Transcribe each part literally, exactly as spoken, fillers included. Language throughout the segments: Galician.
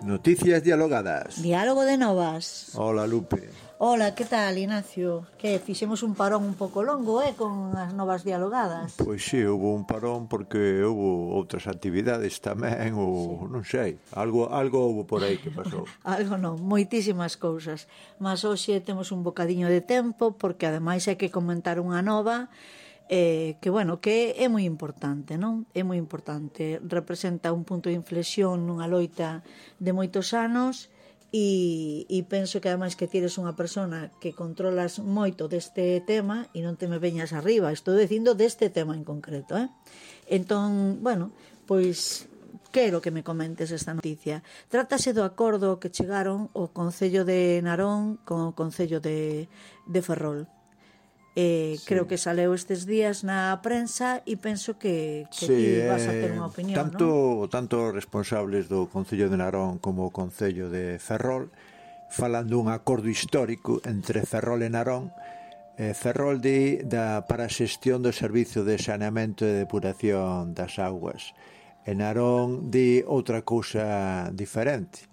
Noticias dialogadas. Diálogo de novas. Hola, Lupe. Hola, que tal, Ignacio? Que fixemos un parón un pouco longo, eh, con as novas dialogadas. Pois sí, houve un parón porque houve outras actividades tamén, ou sí. Non sei, algo algo houve por aí que pasou. Algo non, moitísimas cousas. Mas hoxe temos un bocadiño de tempo porque ademais hai que comentar unha nova eh, que, bueno, que é moi importante, non? É moi importante. Representa un punto de inflexión nunha loita de moitos anos. E, e penso que ademais que tires unha persona que controlas moito deste tema e non te me veñas arriba, estou dicindo deste tema en concreto, eh? Entón, bueno, pois quero que me comentes esta noticia. Trátase do acordo que chegaron o Concello de Narón con o Concello de, de Ferrol. Eh, sí. Creo que saleu estes días na prensa e penso que, que sí, ti vas a ter unha opinión, tanto, non? Tanto responsables do Concello de Narón como o Concello de Ferrol falan dun acordo histórico entre Ferrol e Narón. eh, Ferrol di da, para a xestión do servizo de saneamento e depuración das augas, e Narón di outra cousa diferente.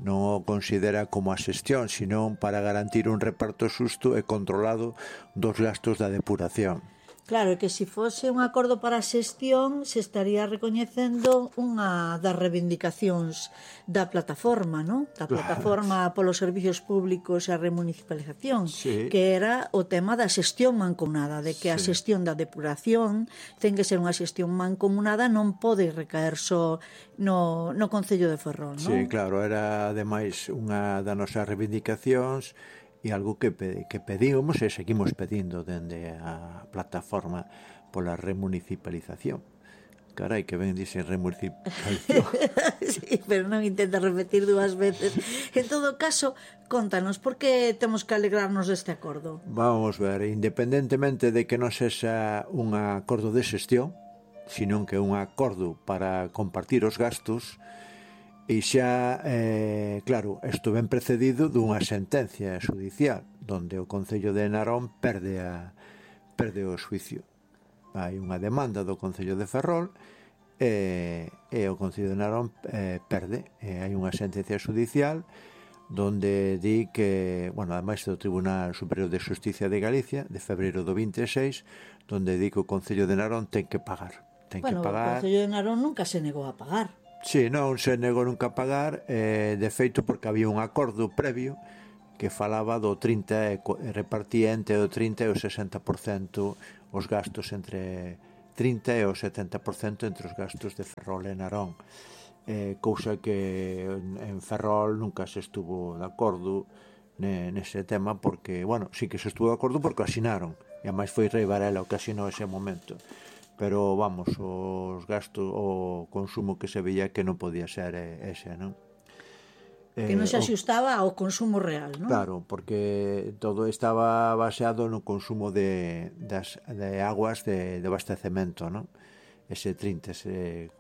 Non o considera como a xestión, senón para garantir un reparto xusto e controlado dos gastos da depuración. Claro, que se fose un acordo para a xestión se estaría recoñecendo unha das reivindicacións da plataforma, non? Da plataforma claro. Polos servicios públicos e a remunicipalización, sí. Que era o tema da xestión mancomunada, de que sí. A xestión da depuración ten que ser unha xestión mancomunada, non pode recaer só no, no Concello de Ferrol, non? Sí, claro, era ademais unha das nosas reivindicacións e algo que, que pedimos e seguimos pedindo dende a plataforma pola remunicipalización. Carai, que ben dicen remunicipalización. Sí, pero non intenta repetir dúas veces. En todo caso, contanos, por que temos que alegrarnos deste acordo? Vamos ver, independentemente de que non sexa un acordo de xestión, senón que un acordo para compartir os gastos. E xa, eh, claro, isto ben precedido dunha sentencia judicial donde o Concello de Narón perde, a, perde o xuicio. Hai unha demanda do Concello de Ferrol e, e o Concello de Narón eh, perde. E hai unha sentencia judicial donde di que, bueno, ademais do Tribunal Superior de Xusticia de Galicia de febreiro do vinte e seis, donde di que o Concello de Narón ten que pagar. Ten bueno, que pagar. O Concello de Narón nunca se negou a pagar. Sí, non se negou nunca a pagar, eh, de feito porque había un acordo previo que falaba do trinta e repartía entre o trinta e o sesenta por cento os gastos entre trinta e o setenta por cento entre os gastos de Ferrol e Narón, eh, cousa que en Ferrol nunca se estuvo de acordo nese tema porque, bueno, sí que se estuvo de acordo porque asinaron, e ademais foi Rei Varela o que asinou ese momento. Pero, vamos, os gastos, o consumo que se veía que non podía ser ese, non? Que non se axustaba ao consumo real, non? Claro, porque todo estaba baseado no consumo de, das, de aguas de, de abastecemento, non? Ese trinta, ese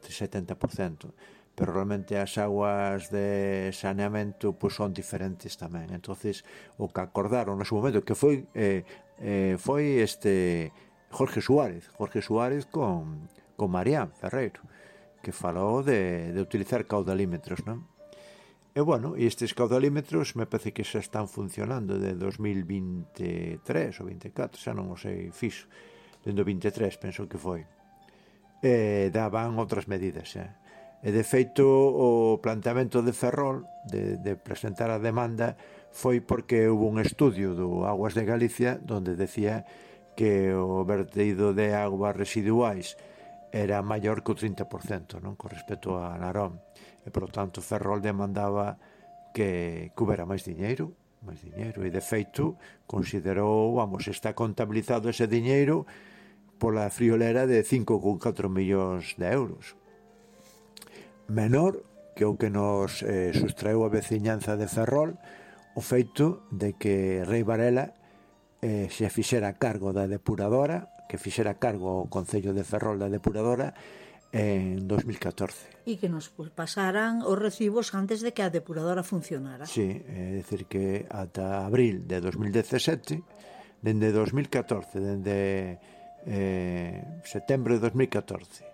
setenta por cento. Pero realmente as aguas de saneamento pues, son diferentes tamén. Entonces, o que acordaron no seu momento, que foi, eh, eh, foi este... Jorge Suárez, Jorge Suárez con, con Marián Ferreiro, que falou de, de utilizar caudalímetros, non? E, bueno, e estes caudalímetros me parece que xa están funcionando de dos mil veintitrés ou vinte e catro, xa non o sei fixo, dende o vinte e tres penso que foi. E daban outras medidas, xa. E, de feito, o planteamento de Ferrol de, de presentar a demanda foi porque houve un estudio do Aguas de Galicia donde decía que o vertido de aguas residuais era maior que o trinta por cento, non? Con respecto a Narón. E, por tanto, Ferrol demandaba que, que houbera máis diñeiro, máis diñeiro, e, de feito, considerou, vamos, está contabilizado ese diñeiro pola friolera de cinco coma catro millóns de euros. Menor que o que nos eh, sustraeu a veciñanza de Ferrol o feito de que Rei Varela Eh, se fixera cargo da depuradora, que fixera cargo ao Concello de Ferrol da depuradora en dos mil catorce. E que nos pasaran os recibos antes de que a depuradora funcionara. Sí, é dicir que ata abril de dos mil dezasete, dende dos mil catorce, dende eh, setembro de dos mil catorce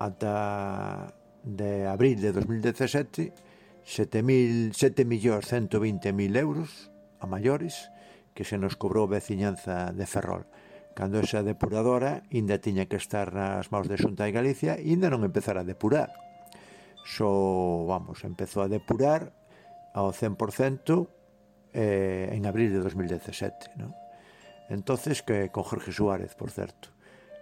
ata de abril de dos mil dezasete, sete millóns ciento veinte mil euros a maiores que se nos cobrou a veciñanza de Ferrol, cando esa depuradora ainda tiña que estar nas maus de Xunta de Galicia e ainda non empezara a depurar. Só, vamos, empezou a depurar ao cen por cento eh, en abril de dos mil dezasete, non? Entonces, que con Jorge Suárez, por certo.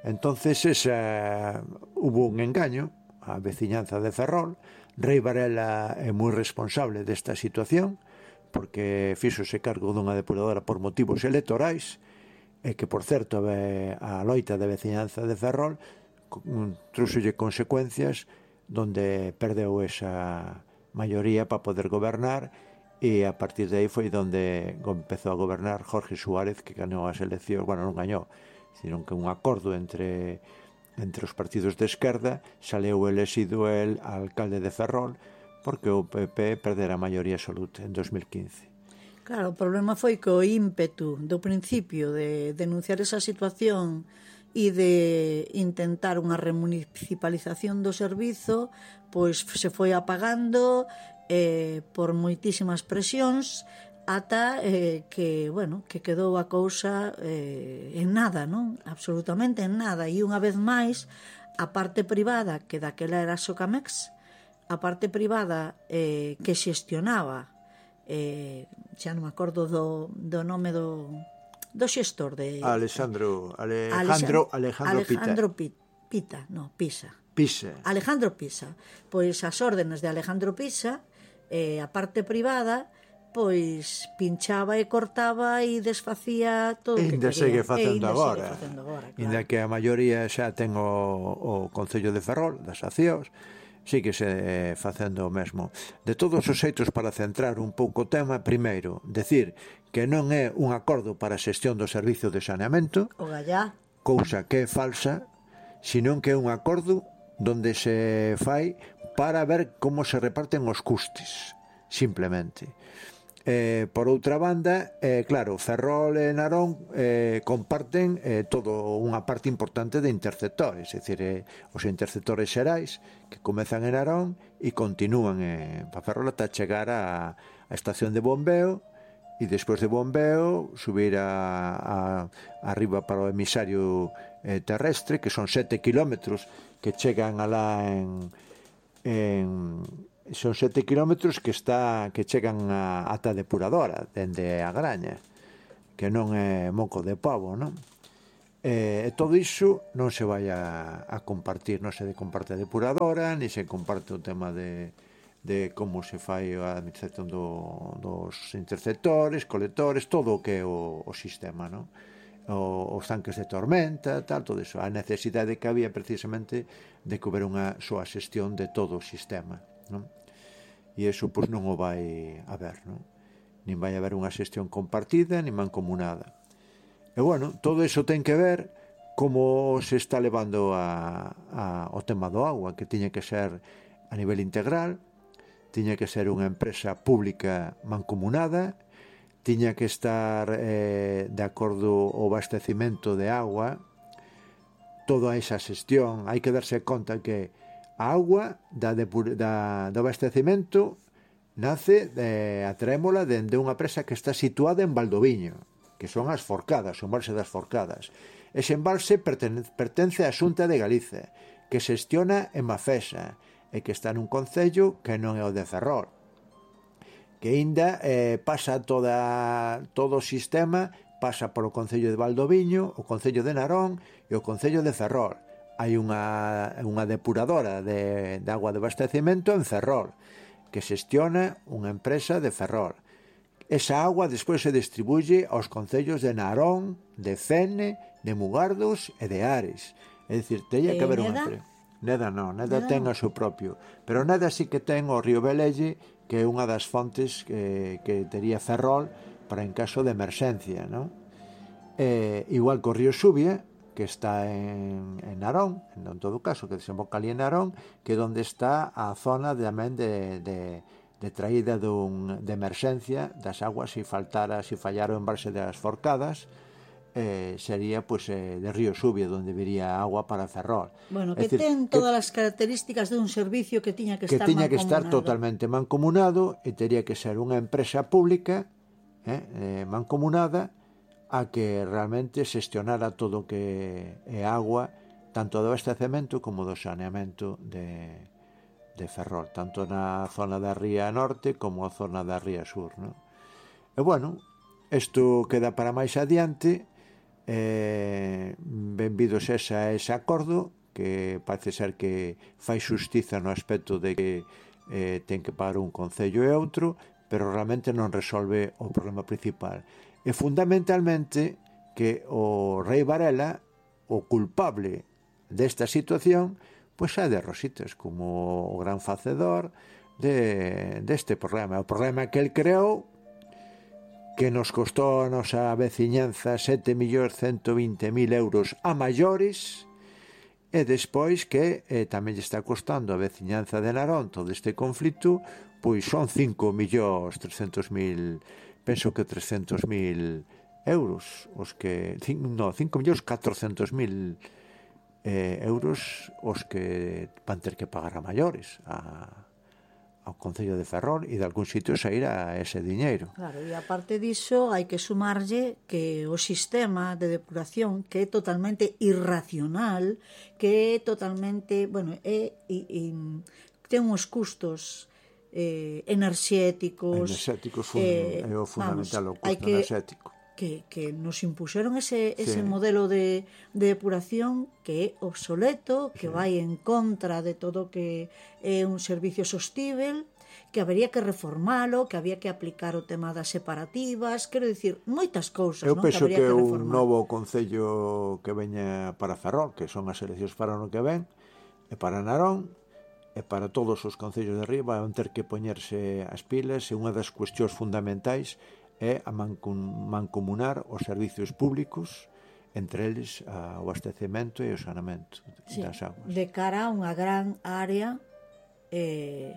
Entonces, esa, hubo un engaño a veciñanza de Ferrol. Rei Varela é moi responsable desta situación, porque fíxose cargo dunha depuradora por motivos electorais, e que, por certo, a loita de veciñanza de Ferrol trouxolle consecuencias donde perdeu esa maioría para poder gobernar, e a partir de aí foi donde empezou a gobernar Jorge Suárez, que gañou as eleccións, bueno, non gañou, sino que un acordo entre entre os partidos de esquerda, saleu elexido el alcalde de Ferrol, porque o P P perdera a maioría absoluta en dos mil quince. Claro, o problema foi que o ímpetu do principio de denunciar esa situación e de intentar unha remunicipalización do servizo, pois se foi apagando eh, por moitísimas presións, ata eh, que, bueno, que quedou a cousa eh, en nada, non? Absolutamente en nada. E unha vez máis, a parte privada, que daquela era Socamex, a parte privada eh, que xestionaba, eh, xa non me acordo do, do nome do, do xestor de... Alexandro, Alejandro, Alejandro, Alejandro Pita. Pita, no, Pisa. Pisa. Alejandro Pisa. Pois as órdenes de Alejandro Pisa, eh, a parte privada, pois pinchaba e cortaba e desfacía todo o que quería. Segue facendo agora. Claro. Inda que a maioría xa ten o, o Concello de Ferrol, das accións, sigue se facendo o mesmo. De todos os xeitos, para centrar un pouco o tema, primeiro, decir que non é un acordo para a xestión do servizo de saneamento, o gallá, cousa que é falsa, senón que é un acordo donde se fai para ver como se reparten os custes, simplemente. Eh, por outra banda, eh, claro, Ferrol e Narón eh, comparten eh, todo unha parte importante de interceptores, é dicir, eh, os interceptores xerais que comezan en Narón e continúan eh, para Ferrol ata chegar a, a estación de bombeo, e despois de bombeo subir a, a, arriba para o emisario eh, terrestre, que son sete kilómetros que chegan alá en... en son sete kilómetros que está que chegan a, ata a depuradora dende a Graña, que non é moco de pavo, non? E, e todo iso non se vai a, a compartir, non se comparte a depuradora, ni se comparte o tema de, de como se fai a administración do, dos interceptores, colectores, todo o que é o, o sistema, non? O, os tanques de tormenta, tal, todo iso. A necesidade que había precisamente de que houbera unha súa xestión de todo o sistema, non? E iso pois non o vai haber, non? Nin vai haber unha xestión compartida nin mancomunada. E bueno, todo iso ten que ver como se está levando a, a, o tema do agua, que tiña que ser a nivel integral, tiña que ser unha empresa pública mancomunada, tiña que estar eh, de acordo o abastecimento de agua, toda esa xestión. Hai que darse conta que a auga da, da, do abastecimento nace de, a trémola dende unha presa que está situada en Valdoviño, que son as Forcadas, o embalse das Forcadas. Ese embalse pertence, pertence á Xunta de Galicia, que xestiona en Mafesa, e que está nun concello que non é o de Ferrol, que ainda eh, pasa toda, todo o sistema, pasa polo concello de Valdoviño, o concello de Narón e o concello de Ferrol. Hai unha, unha depuradora de, de agua de abastecimento en Ferrol, que xestiona unha empresa de Ferrol. Esa agua despois se distribuye aos concellos de Narón, de Fene, de Mugardos e de Ares. É dicir, teña que haber unha empresa. Neda non, Neda ten o seu propio, pero Neda sí que ten o río Velelle, que é unha das fontes que, que tería Ferrol para en caso de emerxencia, non? Eh, igual que o río Xubia, que está en, en Narón, en todo caso, que desemboca ali en Narón, que é onde está a zona tamén de, de, de traída dun, de emerxencia das aguas se faltara, se fallara o embalse das Forcadas, eh, sería pues, eh, de Río Subia, donde viría agua para Ferrol. Bueno, que decir, ten todas que, as características de un servicio que tiña que, que estar tiña mancomunado. Que estar totalmente mancomunado e tería que ser unha empresa pública eh, eh, mancomunada a que realmente xestionara todo o que é agua, tanto do abastecemento como do saneamento de, de Ferrol, tanto na zona da Ría Norte como a zona da Ría Sur, ¿no? E bueno, isto queda para máis adiante. Eh, benvidos esa, ese acordo, que parece ser que fai xustiza no aspecto de que eh, ten que pagar un concello e outro, pero realmente non resolve o problema principal. E fundamentalmente que o Rei Varela, o culpable desta situación, pois é de Rositas, como o gran facedor de, deste problema. O problema que el creou, que nos costou a nosa veciñanza sete millóns ciento vinte mil euros a maiores, e despois que eh, tamén lle está costando a veciñanza de Narón todo este conflito, pois son cinco millóns trescentos mil, penso que trescentos mil euros, os que, no, cinco millóns catrocentos mil eh, euros os que van ter que pagar a maiores, a, ao Concello de Ferrol, e de algún sitio sairá ese diñeiro. Claro, e aparte diso hai que sumarlle que o sistema de depuración, que é totalmente irracional, que é totalmente, bueno, é, é, é ten uns custos eh, enerxéticos, enerxéticos fun, eh, é o fundamental, vamos, o custo que, enerxético que, que nos impuseron ese, ese sí. modelo de, de depuración que é obsoleto, que sí. vai en contra de todo que é un servicio sostível, que habería que reformalo, que había que aplicar o tema das separativas, quero dicir, moitas cousas, eu non? penso que, que, que que un novo concello que veña para Ferrol, que son as eleccións para o ano que ven, e para Narón, e para todos os concellos de arriba, van ter que poñerse as pilas, e unha das cuestións fundamentais é a mancomunar os servicios públicos, entre eles o abastecemento e o saneamento sí, das aguas. De cara a unha gran área eh,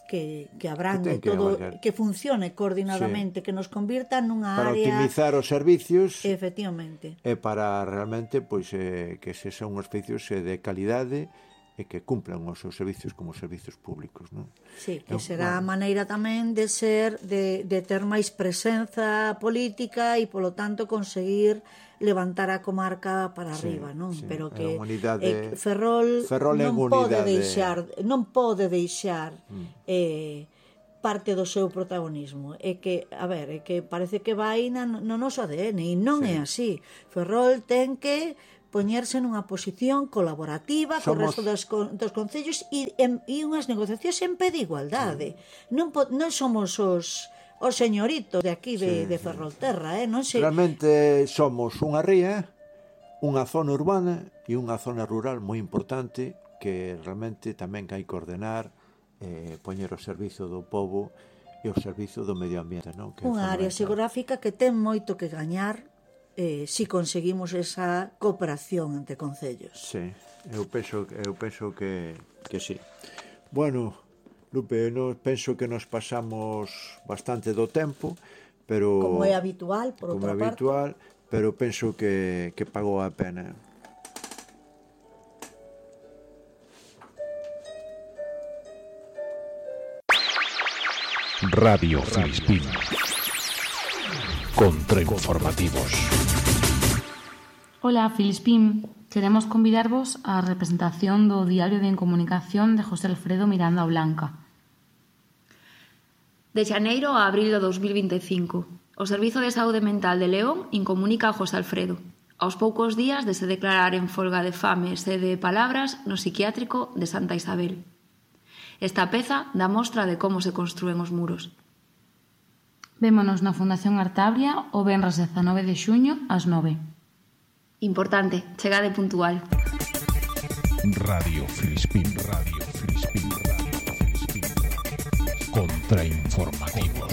que, que abrangue que todo, que, que funcione coordinadamente, sí. que nos convirta nunha para área... Para optimizar os servicios. Efectivamente. E para realmente pois, eh, que se son os servicios eh, de calidade e que cumplan os seus servicios como servicios públicos, non? Sí, que será a maneira tamén de ser, de, de ter máis presenza política e, polo tanto, conseguir levantar a comarca para sí, arriba, non? Sí, pero que unidade, eh, Ferrol, Ferrol non pode deixar, non pode deixar mm. eh, parte do seu protagonismo. É que, a ver, é que parece que vai na, no noso A D N e non sí. é así. Ferrol ten que poñerse nunha posición colaborativa Somos... co resto dos, dos concellos e, e unhas negociacións en pé de igualdade. Sí. Non, non somos os, os señoritos de aquí de, sí, de Ferrolterra, eh? non sei... Realmente somos unha ría, unha zona urbana e unha zona rural moi importante que realmente tamén hai que ordenar, eh, poñer o servizo do povo e o servizo do medio ambiente, non? Que unha área xeográfica que ten moito que gañar Eh, si conseguimos esa cooperación entre concellos. Sí, eu penso, eu penso que, que sí. Bueno, Lupe, eu penso que nos pasamos bastante do tempo, pero como é habitual, por outra parte. Como é habitual, pero penso que, que pagou a pena. Radio Filispín. Contrainformativos. Ola, Filispín. Queremos convidarvos á representación do Diario de Incomunicación de José Alfredo Miranda Blanca. De xaneiro a abril do dos mil vinte e cinco, o Servizo de Saúde Mental de León incomunica a José Alfredo, aos poucos días de se declarar en folga de fame e sede de palabras no psiquiátrico de Santa Isabel. Esta peza dá mostra de como se construen os muros. Vémonos na Fundación Artabria o venres dezanove de xuño ás nove. Importante, chegade puntual. Radio Filispín, Radio Filispín, Radio Filispín. Contrainformativos.